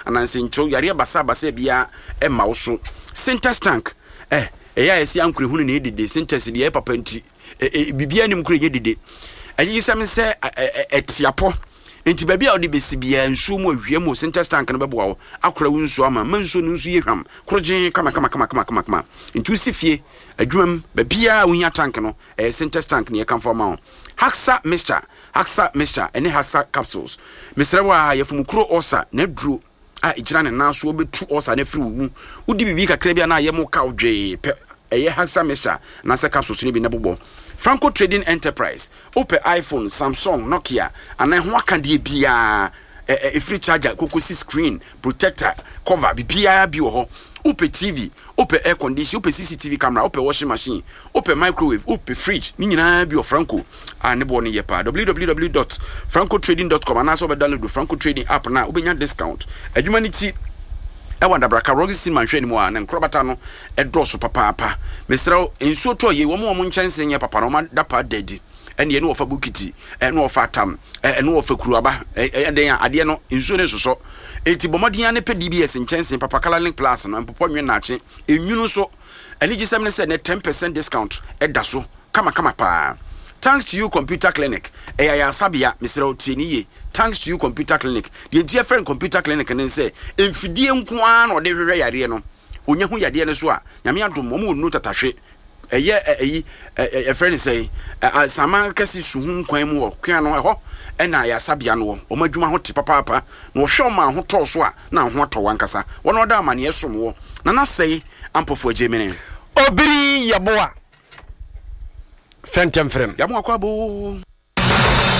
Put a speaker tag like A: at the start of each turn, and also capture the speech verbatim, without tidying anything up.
A: Anansenkyerɛw yareɛ basabasa biara ɛma wo so. Sintex tank ɛ ɛyɛ a yɛsi ankorehunu na ɛdede. Sintex deɛ ɛyɛ papa nti biribiara nim koro ɛnyɛ dede. Ɛgye sɛm sɛ ɛtiapɔ nti baabi a wode bɛsi biara, nsuo mu, awia mu, Sintex tank no bɛboa wo akora wo nsuo ama ma nsuo no nso yɛ hwam korogyen kama kama kama kama kama kama. Nti wosi fie, adwuma mu, baabiara a wohia tank no, ɛyɛ Sintex tank ne yɛkamfo ama wo. Haxa mixture, Haxa mixture ɛne Haxa capsules, mesrɛ wo a yɛfomukuro ɔsa na aduro a ɛgyina ne nan so, wobɛtu ɔsa no afiri wo mu. Wodi biribi kakra bi a na ayɛ mo ka wo dwee pɛ, ɛyɛ Haxa mixture anaasɛ capsules no bi na bobɔ. Franco Trading Enterprise, wopɛ iPhone, Samsung, Nokia anaa ɛho akadeɛ biara, ɛfiri charger kokosi screen protector, cover, biribiara bi wɔ hɔ. Wopɛ T V, wopɛ air condition, wopɛ C C T V camera, wopɛ washing machine, wopɛ microwave, wopɛ fridge, ne nyinaa bi wɔ Franco a ne boɔ no yɛ paa. W W W dot francotrading dot com anaasɛ wobɛ download Franco Trading app na wobɛnya discount. Adwuma no ti ɛwɔ Adabraka, Roxy Cinema nhwɛ anim a ne nkorabata no ɛdɔɔso papaapa. Mesrɛ wo, nsuo tɔ yie, wɔn wɔn nkyɛnse nyɛ papa no, wɔn ada pa da adi. Ɛne ɛne wɔfa bokiti, ɛne wɔfa atam, ɛne wɔfa kuruaba, ɛyɛ den a adeɛ no nsuo no nsosɔ. Eti bɔ mmɔden ne pɛ D B S nkyɛnse papa, Colorlink Plus no mpopɔ nwe naakye enwunu nso. Anigyesɛm ne sɛ ne ten percent discount ɛda so kamakama paa. Thanks To You Computer Clinic, ɛyɛ ayaresabea. Mesrɛ wo, tie ne yie. Thanks To You Computer Clinic deɛ nti yɛfrɛ no computer clinic ne sɛ mfidie nko ara na ɔde hwehwɛ yareɛ no. Onya ho yadeɛ no so a, Nyame adom, wɔn wɔ nnuro tatahwe. Ɛyɛ ɛyi ɛfrɛ ne sɛ sama kɛse suhu nkwan mu wɔ kwan no ɛhɔ ɛna ayaresabea no wɔ. Wɔn adwuma ho te papaapa na wɔhwɛ wɔn a ho tɔɔ so a na ho atɔ wɔn ankasa. Wɔn a wɔda amaneɛ som wɔ Nana Sɛe Ampɔfo agye mene.
B: Obiri Yɛboa fɛntɛmfrɛm.
A: Yàmú akɔ abo.